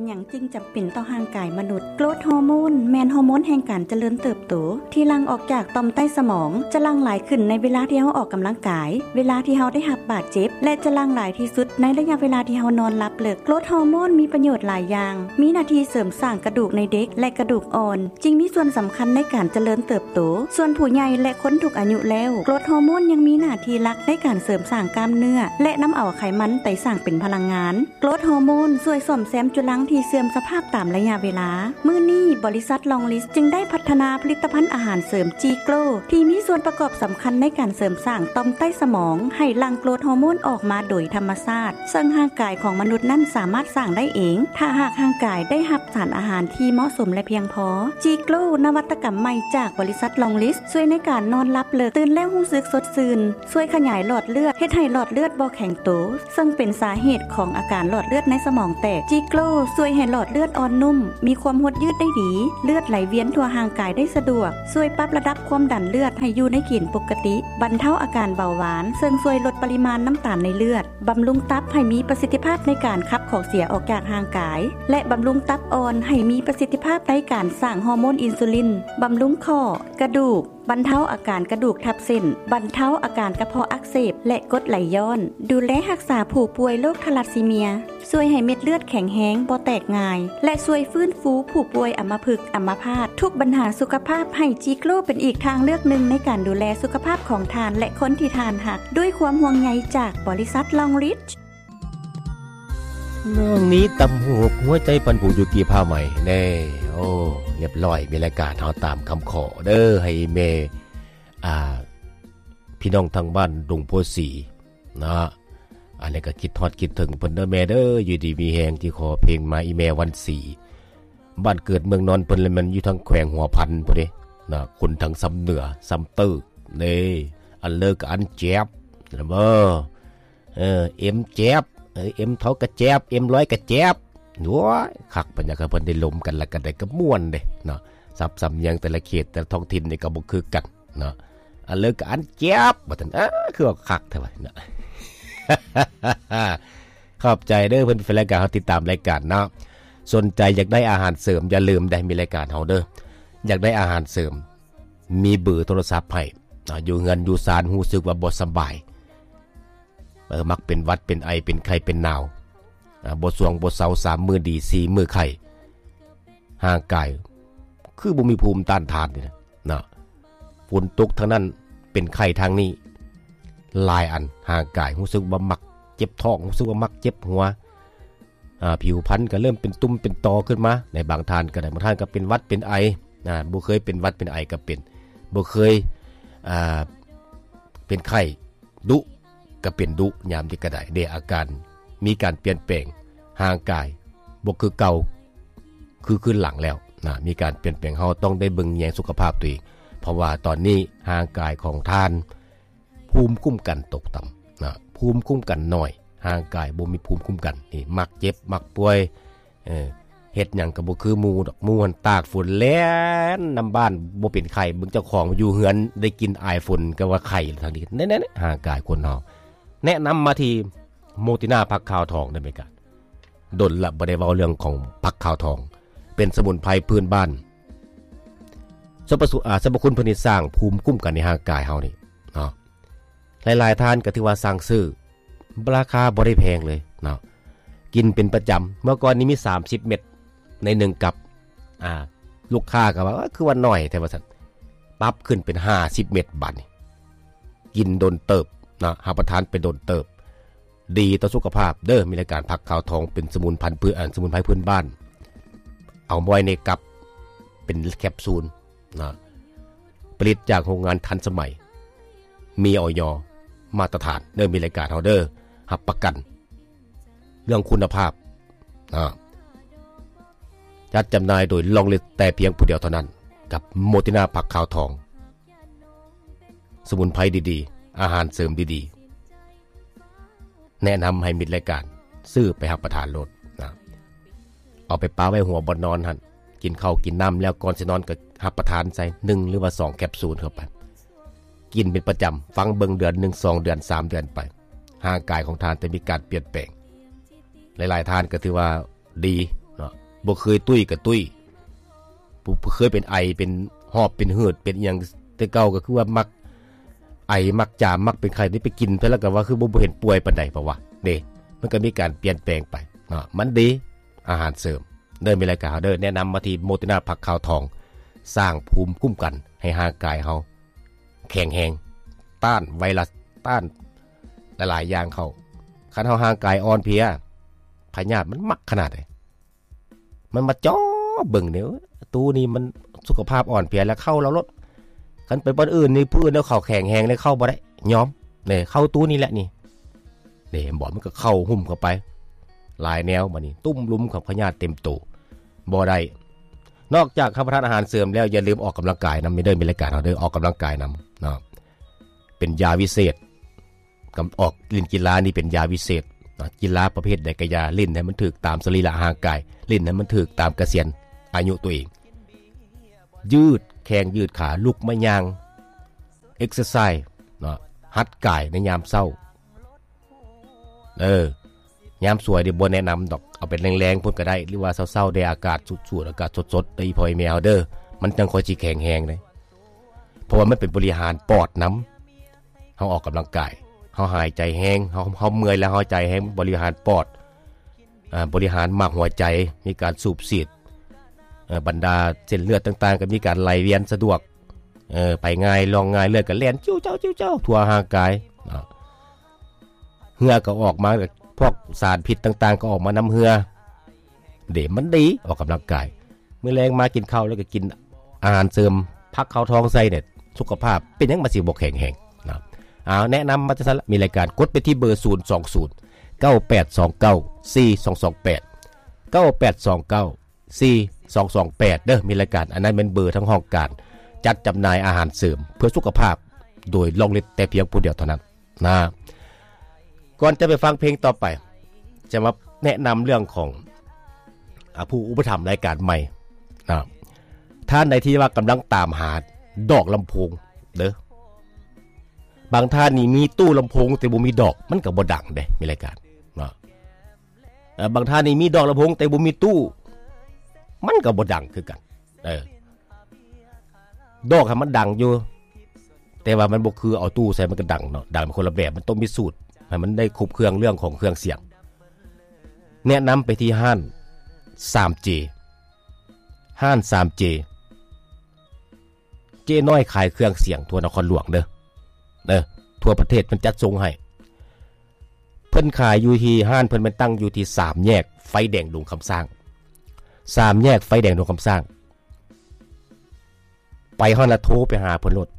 ຫຍັງຈຶ່ງຈຳເປັນຕໍ່ຮ່າງກາຍມະນຸດ? ໂກຣດຮໍໂມນແມ່ນຮໍໂມນແຫ່ງການຈະເລີນເຕີບໂຕ ທີ່ຫຼັ່ງອອກຈາກຕ່ອມໃຕ້ສະໝອງ, ຈະຫຼັ່ງຫຼາຍຂຶ້ນໃນເວລາທີ່ເຮົາອອກກຳລັງກາຍ, ເວລາທີ່ເຮົາໄດ້ຮັບບາດເຈັບ ແລະ ຈະຫຼັ່ງຫຼາຍທີ່ສຸດໃນໄລຍະເວລາທີ່ເຮົານອນຫຼັບເລິກ. ໂກຣດຮໍໂມນມີປະໂຫຍດຫຼາຍຢ່າງ, ມີໜ້າທີ່ເສີມສ້າງກະດູກໃນເດັກ ແລະ ກະດູກອ່ອນ, ຈຶ່ງມີສ່ວນສຳຄັນໃນການຈະເລີນເຕີບໂຕ. ສ່ວນຜູ້ໃຫຍ່ ແລະ ຄົນທຸກອາຍຸແລ້ວ, ໂກຣດຮໍໂມນຍັງມີໜ້າທີ່ຫຼັກໃນການເສີມສ້າງກ້າມເນື້ອ ແລະ ນຳເອົາໄຂມັນໄປສ້າງເປັນພະລັງງານ. ໂກຣດຮໍໂມນຊ່ວຍສ້ອມແຊມຈຸລັງທີ່ເສື່ອມສະພາບຕາມໄລຍະເວລາ. ມື້ນີ້, ບໍລິສັດ Longlis ຈຶ່ງໄດ້ພັດທະນາຜະລິດຕະພັນອາຫານເສີມ G-Grow ທີ່ມີສ່ວນປະກອບສຳຄັນໃນການເສີມສ້າງຕ່ອມໃຕ້ສະໝອງໃຫ້ຫຼັ່ງໂກຣດຮໍໂມນອອກມາໂດຍທຳມະຊາດ, ເຊິ່ງຮ່າງກາຍຂອງມະນຸດນັ້ນສາມາດສ້າງໄດ້ເອງ ຖ້າຫາກຮ່າງກາຍໄດ້ຮັບສານອາຫານທີ່ເໝາະສົມ ແລະ ພຽງພໍ. G-Grow ນະວັດຕະກຳໃໝ່ຈາກບໍລິສັດ Longlis ຊ່ວຍໃນການນອນຫຼັບເລິກ, ຕື່ນແລ້ວຮູ້ສຶກສົດຊື່ນ, ຊ່ວຍຂະຫຍາຍຫຼອດເລືອດ, ເຮັດໃຫ້ຫຼອດເລືອດບໍ່ແຂງໂຕ, ເຊິ່ງເປັນສາເຫດຂອງອາການຫຼອດເລືອດໃນສະໝອງແຕກ. G-Grow ຊ່ວຍໃຫ້ຫຼອດເລືອດອ່ອນນຸ້ມ, ມີຄວາມຫົດຍືດໄດ້ດີ, ເລືອດໄຫຼວຽນທົ່ວຮ່າງກາຍໄດ້ສະດວກ, ຊ່ວຍປັບລະດັບຄວາມດັນເລືອດໃຫ້ຢູ່ໃນເກນປົກກະຕິ, ບັນເທົາອາການເບົາຫວານ, ເຊິ່ງຊ່ວຍລົດປະລິມານນ້ຳຕານໃນເລືອດ, ບຳລຸງຕັບໃຫ້ມີປະສິດທິພາບໃນການຂັບຂອງເສຍອອກຈາກຮ່າງກາຍ ແລະ ບຳລຸງຕັບອ່ອນໃຫ້ມີປະສິດທິພາບໃນການສ້າງຮໍໂມນອິນຊູລິນ, ບຳລຸງຂໍ້, ກະດູກ, ບັນເທົາອາການກະດູກທັບເສັ້ນ, ບັນເທົາອາການກະເພາະອັກເສບ ແລະ ກົດໄຫຼຍ້ອນ, ດູແລຮັກສາຜູ້ປ່ວຍໂລກທາລັດຊີເມຍ, ຊ່ວຍໃຫ້ເມັດເລືອດແຂງແຮງ, ບໍ່ແຕກງ່າຍ ແລະ ຊ່ວຍຟື້ນຟູຜູ້ປ່ວຍອຳມະພຶກ, ອຳມະພາດ. ທຸກບັນຫາສຸຂະພາບ, ໃຫ້ G-Grow ເປັນອີກທາງເລືອກໜຶ່ງໃນການດູແລສຸຂະພາບຂອງທ່ານ ແລະ ຄົນທີ່ທ່ານຮັກ, ດ້ວຍຄວາມຫ່ວງໃຍຈາກບໍລິສັດ Longlis. ນ້ອງນີ້ຕຳຫູກ ຫົວໃຈປັ່ນປູຢູ່ກີ້ຜ້າໄໝແນ່. ໂອ້ ລຽບຮ້ອຍ, ມີລາຍການເຮົາຕາມຄຳຂໍເດີ້ ໃຫ້ແມ່ ອ່າ ພີ່ນ້ອງທາງບ້ານດົງໂພສີເນາະ. ອັນນີ້ກໍຄິດຮອດຄິດເຖິງເພິ່ນເດີ້ແມ່ເດີ້, ຢູ່ດີມີແຮງ. ທີ່ຂໍເພງມາ ອີແມ່ວັນສີ ບ້ານເກີດເມືອງນອນເພິ່ນ ແລະ ແມ່ນຢູ່ທາງແຂວງຫົວພັນພຸ້ນເດ້ເນາະ, ຄົນທາງຊຳເໜືອ ຊຳເຕີເດ້. ອັນເລີກກໍອັນແຈບ ເອີ ເອີ ເອັມແຈບ ເອີ ເອັມເທົາກະແຈບ ເອັມຮ້ອຍກະແຈບ. ໂອ້ຍ ຄັກ ບັນຍາກາດເພິ່ນໄດ້ລົມກັນ ແລ້ວກໍໄດ້ກະມ່ວນເດ້ເນາະ. ສັບສຳນຽງແຕ່ລະເຂດແຕ່ລະທ້ອງຖິ່ນນີ້ກໍບໍ່ຄືກັນເນາະ. ອັນເລີກກໍອັນແຈບ ວ່າຊັ້ນ. ເອີ ຄືວ່າຄັກແທ້ວ່າເນາະ. ຂອບໃຈເດີ້ ເພິ່ນເປັນແຟນລາຍການ ເຮົາຕິດຕາມລາຍການເນາະ. ສົນໃຈຢາກໄດ້ອາຫານເສີມ ຢ່າລືມເດ້ ມີລາຍການເຮົາເດີ້. ຢາກໄດ້ອາຫານເສີມ ມີເບີໂທລະສັບໃຫ້. ອາ ຢູ່ເຮືອນຢູ່ຊານຮູ້ສຶກວ່າບໍ່ສະບາຍ ເອີ ມັກເປັນຫວັດເປັນໄອ ເປັນໄຂ້ເປັນໜາວ ອາ ບໍ່ຊ່ວງບໍ່ເຊົາ ສາມມື້ດີ ສີ່ມື້ໄຂ້ ຮ່າງກາຍຄືບໍ່ມີພູມຕ້ານທານນີ້ນະເນາະ. ຝົນຕົກທາງນັ້ນ ເປັນໄຂ້ທາງນີ້ ຫຼາຍອັນ. ຮ່າງກາຍຮູ້ສຶກວ່າມັກເຈັບທ້ອງ ຮູ້ສຶກວ່າມັກເຈັບຫົວ ອາ ຜິວພັນກໍເລີ່ມເປັນຕຸ່ມເປັນຕໍຂຶ້ນມາ. ໃນບາງທ່ານກໍໄດ້ ບາງທ່ານກໍເປັນຫວັດເປັນໄອ ອາ ບໍ່ເຄີຍເປັນຫວັດເປັນໄອກໍເປັນ ບໍ່ເຄີຍ ອາ ເປັນໄຂ້ດຸກໍເປັນດຸ ຍາມນີ້ກໍໄດ້ເດ້. ອາການມີການປ່ຽນແປງ ຮ່າງກາຍບໍ່ຄືເກົ່າ ຄືຄືນຫຼັງແລ້ວນະ ມີການປ່ຽນແປງ. ເຮົາຕ້ອງໄດ້ເບິ່ງແຍງສຸຂະພາບຕົວເອງ ເພາະວ່າຕອນນີ້ຮ່າງກາຍຂອງທ່ານ ພູມຄຸ້ມກັນຕົກຕ່ຳນະ ພູມຄຸ້ມກັນໜ້ອຍ ຮ່າງກາຍບໍ່ມີພູມຄຸ້ມກັນ ນີ້ ມັກເຈັບ ມັກປ່ວຍ ເອີ ເຮັດຫຍັງກໍບໍ່ຄືໝູ່ດອກ. ໝູ່ຫັ້ນຕາກຝົນແລ່ນນຳບ້ານ ບໍ່ເປັນໄຂ້ ເບິ່ງເຈົ້າຂອງຢູ່ເຮືອນໄດ້ກິ່ນອາຍຝົນກໍວ່າໄຂ້ແລ້ວທາງນີ້. ແນ່ໆ ຮ່າງກາຍຄົນເຮົາ ແນະນຳມາທີ່ໂມຕິນາຜັກຂາວທອງໄດ້ໄໝກະ? ດົນລະບໍ່ໄດ້ເວົ້າເລື່ອງຂອງຜັກຂາວທອງ ເປັນສະໝຸນໄພພື້ນບ້ານ. ສັບພະ ອາ ສັບພະຄຸນເພິ່ນນີ້ສ້າງພູມຄຸ້ມກັນໃນຮ່າງກາຍເຮົານີ້ເນາະ. ຫຼາຍໆທ່ານກໍຖືວ່າສັ່ງຊື້ ລາຄາບໍ່ໄດ້ແພງເລີຍເນາະ ກິນເປັນປະຈຳ. ເມື່ອກ່ອນນີ້ມີສາມສິບເມັດໃນໜຶ່ງກັບ ອາ ລູກຄ້າກໍວ່າ ເອີ ຄືວ່າໜ້ອຍແທ້ ວ່າຊັ້ນ. ປັບຂຶ້ນເປັນຫ້າສິບເມັດ ບາດນີ້ ກິນດົນເຕີບເນາະ ຮັບປະທານໄປດົນເຕີບ. ດີຕໍ່ສຸຂະພາບເດີ້ ມີລາຍການຜັກຂາວທອງ ເປັນສະໝຸນພັນພື ອັນ ສະໝຸນໄພພື້ນບ້ານ ເອົາໄວ້ໃນກັບ ເປັນແຄບຊູນເນາະ ຜະລິດຈາກໂຮງງານທັນສະໄໝ ມີ ອອຍ ມາດຕະຖານເດີ້ ມີລາຍການເຮົາເດີ້ ຮັບປະກັນເລື່ອງຄຸນນະພາບເນາະ. ຈັດຈຳໜ່າຍໂດຍ Longlis ແຕ່ພຽງຜູ້ດຽວເທົ່ານັ້ນ ກັບໂມຕິນາຜັກຂາວທອງ. ສະໝຸນໄພດີໆ ອາຫານເສີມດີໆ ແນະນຳໃຫ້ມິດລາຍການຊື້ໄປຮັບປະທານໂລດນະ. ເອົາໄປປະໄວ້ຫົວບ່ອນນອນຫັ້ນ ກິນເຂົ້າກິນນ້ຳແລ້ວ ກ່ອນຊິນອນກໍຮັບປະທານໃສ່ໜຶ່ງ ຫຼືວ່າສອງແຄບຊູນເຂົ້າໄປ ກິນເປັນປະຈຳ. ຟັງເບິ່ງເດືອນໜຶ່ງ ສອງເດືອນ ສາມເດືອນໄປ ຮ່າງກາຍຂອງທ່ານຈະມີການປ່ຽນແປງ. ຫຼາຍໆທ່ານກໍຖືວ່າ ດີເນາະ ບໍ່ເຄີຍຕຸ້ຍກໍຕຸ້ຍ ຜູ້ ຜູ້ເຄີຍເປັນໄອ ເປັນຫອບ ເປັນຫືດ ເປັນອີ່ຫຍັງແຕ່ເກົ່າ ກໍຄືວ່າມັກໄອ ມັກຈາມ ມັກເປັນໄຂ້ ໄດ້ໄປກິນເທື່ອລະກໍວ່າຄືບໍ່ ບໍ່ເຫັນປ່ວຍປານໃດ ເພາະວ່າເດ້ ມັນກໍມີການປ່ຽນແປງໄປເນາະ ມັນດີ ອາຫານເສີມ ເດີ ມີລາຍການເຮົາເດີ ແນະນຳມາທີ່ໂມເຕນາຜັກຂາວທອງ ສ້າງພູມຄຸ້ມກັນໃຫ້ຮ່າງກາຍເຮົາແຂງແຮງ ຕ້ານໄວຣັສ ຕ້ານຫຼາຍໆຢ່າງເຂົ້າ ຄັນເຮົາຮ່າງກາຍອ່ອນເພຍ ພະຍາດມັນມັກຂະໜາດໃດ ມັນມາເຈາະເບິ່ງນີ້ ໂອ້ຍ ຕູ້ນີ້ມັນສຸຂະພາບອ່ອນເພຍ ແລ້ວເຂົ້າລາວໂລດ ຄັນໄປບ່ອນອື່ນນີ້ ຜູ້ອື່ນເຂົາແຂງແຮງ ແລ້ວເຂົ້າບໍ່ໄດ້ ຍອມ ເດ້ ເຂົ້າຕູ້ນີ້ແຫຼະນີ້ ເດ້ ເຫັນບໍ່ ມັນກໍເຂົ້າຫຸ້ມເຂົ້າໄປ ຫຼາຍແນວ ບາດນີ້ ຕຸ້ມລຸມຂອງພະຍາດເຕັມໂຕ ບໍ່ໄດ້ ນອກຈາກຮັບປະທານອາຫານເສີມແລ້ວ ຢ່າລືມອອກກຳລັງກາຍນຳເດີ ມີລາຍການເຮົາເດີ ອອກກຳລັງກາຍນຳເນາະ ເປັນຢາວິເສດ ກຳ ອອກຫຼິ້ນກິລານີ້ເປັນຢາວິເສດເນາະ ກິລາປະເພດໃດກໍຢ່າ ຫຼິ້ນໃຫ້ມັນຖືກຕາມສະລີລະຮ່າງກາຍ ຫຼິ້ນໃຫ້ມັນຖືກຕາມກະສຽນອາຍຸຕົວເອງ ຢືດແຂ້ງຢືດຂາ ລຸກມາຍ່າງ ເອັກເຊີໄຊເນາະ ຫັດກາຍໃນຍາມເຊົ້າ ເອີ ຍາມສວຍນີ້ບໍ່ແນະນຳດອກ ເອົາເປັນແລງໆພຸ້ນກໍໄດ້ ຫຼືວ່າເຊົ້າໆແດ່ ອາກາດສູດໆ ອາກາດສົດໆ ເດີ ພໍ່ແມ່ເຮົາເດີ ມັນຈັ່ງຄ່ອຍຊິແຂງແຮງເດ້ ເພາະວ່າມັນເປັນບໍລິຫານປອດນຳ ເຮົາອອກກຳລັງກາຍ ເຮົາຫາຍໃຈແຮງ ເຮົາ ເຮົາເມື່ອຍແລ້ວຫາຍໃຈແຮງ ບໍລິຫານປອດ ອາ ບໍລິຫານໝາກຫົວໃຈ ມີການສູບສີດ ເອີ ບັນດາເສັ້ນເລືອດຕ່າງໆ ກໍມີການໄຫຼວຽນສະດວກ ເອີ ໄປງ່າຍ ລ່ອງງ່າຍ ເລືອດກໍແລ່ນ ຈິ້ວເຈົ້າ ຈິ້ວເຈົ້າ ທົ່ວຮ່າງກາຍເນາະ ເຫື່ອກໍອອກມາ ພວກສານພິດຕ່າງໆ ກໍອອກມານຳເຫື່ອ ເດ້ ມັນດີ ອອກກຳລັງກາຍ ມື້ແລງມາກິນເຂົ້າ ແລ້ວກໍກິນອາຫານເສີມ ຜັກຂາວທອງໃສ່ເນັດ ສຸຂະພາບເປັນຫຍັງມັນຊິບໍ່ແຂງແຮງເນາະ ເອົາ ແນະນຳມາຈັ່ງຊັ້ນລະ ມີລາຍການ ກົດໄປທີ່ເບີ ສູນສອງສູນ ເກົ້າແປດສອງເກົ້າ ສີ່ສອງສອງແປດ ເກົ້າແປດສອງເກົ້າ ສີ່ສອງສອງແປດ ເດີ ມີລາຍການ ອັນນັ້ນແມ່ນເບີທາງຫ້ອງການຈັດຈຳໜ່າຍອາຫານເສີມເພື່ອສຸຂະພາບ ໂດຍລອງເລັດແຕ່ພຽງຜູ້ດຽວເທົ່ານັ້ນນະ ກ່ອນຈະໄປຟັງເພງຕໍ່ໄປ ຈະມາແນະນຳເລື່ອງຂອງ ອາ ຜູ້ອຸປະຖຳລາຍການໃໝ່ນະ ທ່ານໃດທີ່ວ່າກຳລັງຕາມຫາດອກລຳໂພງເດີ ບາງທ່ານນີ້ມີຕູ້ລຳໂພງແຕ່ບໍ່ມີດອກ ມັນກໍບໍ່ດັງເດ້ ມີລາຍການເນາະ ເອີ ບາງທ່ານນີ້ມີດອກລຳໂພງແຕ່ບໍ່ມີຕູ້ ມັນກໍບໍ່ດັງຄືກັນ ເອີ ດອກໃຫ້ມັນດັງຢູ່ ແຕ່ວ່າມັນບໍ່ຄືເອົາຕູ້ໃສ່ມັນກໍດັງເນາະ ດັງເປັນຄົນລະແບບ ມັນຕ້ອງມີສູດໃຫ້ມັນໄດ້ຄົບເຄື່ອງເລື່ອງຂອງເຄື່ອງສຽງ ແນະນຳໄປທີ່ຮ້ານສາມເຈ ຮ້ານສາມເຈ ເຈ້ນ້ອຍຂາຍເຄື່ອງສຽງທົ່ວນະຄອນຫຼວງເດີ ເດີ ທົ່ວປະເທດເພິ່ນຈັດສົ່ງໃຫ້ ເພິ່ນຂາຍຢູ່ທີ່ ຮ້ານເພິ່ນແມ່ນຕັ້ງຢູ່ທີ່ສາມແຍກໄຟແດງດົງຄຳສ້າງ ສາມແຍກໄຟແດງດົງຄຳສ້າງ ໄປຮອດລະໂທໄປຫາເພິ່ນໂລດ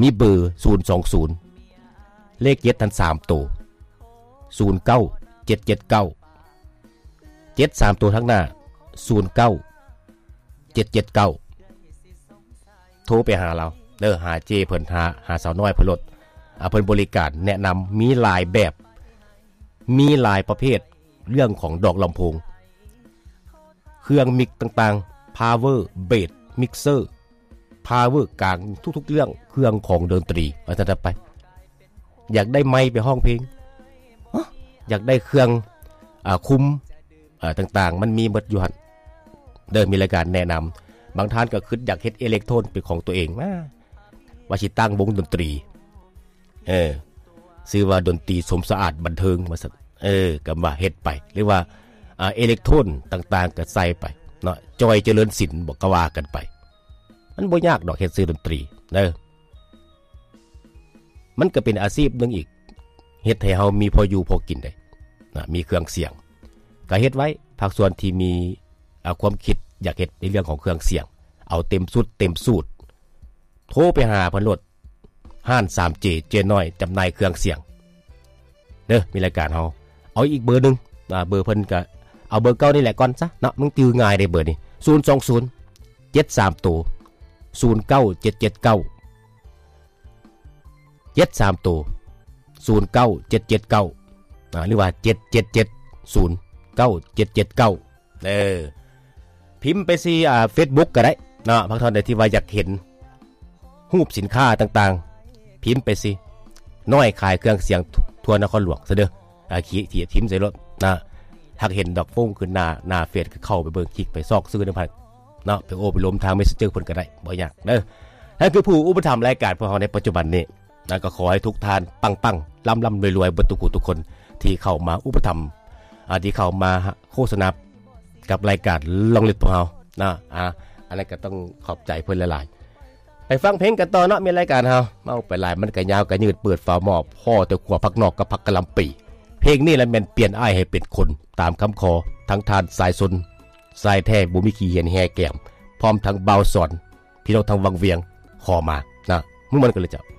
ມີເບີ ສູນສອງສູນ ເລກເຈັດຫັ້ນສາມໂຕ ສູນເກົ້າເຈັດເຈັດເກົ້າ ເຈັດສາມໂຕທາງໜ້າ ສູນເກົ້າເຈັດເຈັດເກົ້າ ໂທໄປຫາລາວເດີ ຫາເຈ້ເພິ່ນ ຫາ ຫາສາວນ້ອຍເພິ່ນໂລດ ອາ ເພິ່ນບໍລິການແນະນຳ ມີຫຼາຍແບບ ມີຫຼາຍປະເພດ ເລື່ອງຂອງດອກລຳໂພງ ເຄື່ອງມິກຕ່າງໆ ພາວເວີ ເບສ ມິກເຊີ ພາວເວີກາງ ທຸກໆເລື່ອງ ເຄື່ອງຂອງດົນຕີ ວ່າຊັ້ນໄປ ຢາກໄດ້ໄມໄປຮ້ອງເພງ ຮະ ຢາກໄດ້ເຄື່ອງ ອາ ຄຸມ ອາ ຕ່າງໆ ມັນມີໝົດຢູ່ຫັ້ນເດີ ມີລາຍການແນະນຳ ບາງທ່ານກໍຄິດຢາກເຮັດເອເລັກໂທນເປັນຂອງຕົວເອງ ວ່າ ວ່າຊິຕັ້ງວົງດົນຕີ ເອີ ຊື່ວ່າດົນຕີສົມສະອາດບັນເທີງ ວ່າຊັ້ນ ເອີ ກໍວ່າເຮັດໄປ ຫຼືວ່າ ອາ ເອເລັກໂທນຕ່າງໆ ກໍໃສ່ໄປເນາະ ຈອຍ ຈະເລີນສິນ ບໍ່ ກໍວ່າກັນໄປ ມັນບໍ່ຍາກດອກເຮັດຊື່ດົນຕີເດີ ມັນກໍເປັນອາຊີບໜຶ່ງອີກ ເຮັດໃຫ້ເຮົາມີພໍຢູ່ພໍກິນໄດ້ນະ ມີເຄື່ອງສຽງ ກໍເຮັດໄວ້ ພາກສ່ວນທີ່ມີ ອາ ຄວາມຄິດຢາກເຮັດໃນເລື່ອງຂອງເຄື່ອງສຽງ ເອົາເຕັມຊຸດເຕັມສູດ ໂທໄປຫາເພິ່ນໂລດ ຮ້ານສາມເຈ ເຈ້ນ້ອຍ ຈຳໜ່າຍເຄື່ອງສຽງເດີ ມີລາຍການເຮົາ ເອົາອີກເບີໜຶ່ງ ອາ ເບີເພິ່ນກະ ເອົາເບີເກົ່ານີ້ແຫຼະກ່ອນຊະເນາະ ມັນຈື່ງ່າຍເດ້ເບີນີ້ ສູນສອງສູນ ເຈັດສາມໂຕ ສູນເກົ້າເຈັດເຈັດເກົ້າ ເຈັດສາມໂຕ ສູນເກົ້າເຈັດເຈັດເກົ້າ ອາ ຫຼືວ່າ ເຈັດເຈັດເຈັດ ສູນເກົ້າເຈັດເຈັດເກົ້າ ເອີ ພິມໄປທີ່ ອາ ເຟສບຸກກໍໄດ້ເນາະ ພາກທ່ານໃດທີ່ວ່າຢາກເຫັນຮູບສິນຄ້າຕ່າງໆ ພິມໄປທີ່ ນ້ອຍຂາຍເຄື່ອງສຽງທົ່ວນະຄອນຫຼວງຊະເດີ ອາ ຂີ ຖີບ ພິມໃສ່ໂລດນະ ຫາກເຫັນດອກໂປ້ງຂຶ້ນໜ້າ ໜ້າເຟສ ກໍເຂົ້າໄປເບິ່ງ ຄລິກໄປຊອກຊື່ນຳເພິ່ນເນາະ ໄປໂອ້ໄປລົມທາງ Messenger ເພິ່ນກໍໄດ້ ບໍ່ຍາກເດີ. ນັ້ນຄືຜູ້ອຸປະຖຳລາຍການພວກເຮົາໃນປັດຈຸບັນນີ້ນະ ກໍຂໍໃຫ້ທຸກທ່ານປັງໆ ລ່ຳໆ ລວຍໆ ເບິດທຸກຜູ້ທຸກຄົນ ທີ່ເຂົ້າມາອຸປະຖຳ ອາ ທີ່ເຂົ້າມາໂຄສະນາ ກັບລາຍການລອງເລັດພວກເຮົານະ ອາ ອັນນັ້ນກໍຕ້ອງຂອບໃຈເພິ່ນຫຼາຍໆ. ໄປຟັງເພງກັນຕໍ່ເນາະ ແມ່ນລາຍການເຮົາ ເວົ້າໄປຫຼາຍມັນກໍຍາວກໍຍືດ ເປີດຝາໝໍ້ພໍ້ແຕ່ຂົ້ວຜັກນອກກັບຜັກກະຫຼ່ຳປີ. ເພງນີ້ລະແມ່ນປ່ຽນອ້າຍໃຫ້ເປັນຄົນ ຕາມຄຳຂໍທັງທ່ານສາຍຊົນ ຊາຍແທ້ບໍ່ມີຂີ້ຫຽນແຮ່ແກ້ມ ພ້ອມທັງບ່າວສອນ ພີ່ນ້ອງທາງວັງວຽງຂໍມານະ ມ່ວນໆ ກັນເລີຍເຈົ້າ.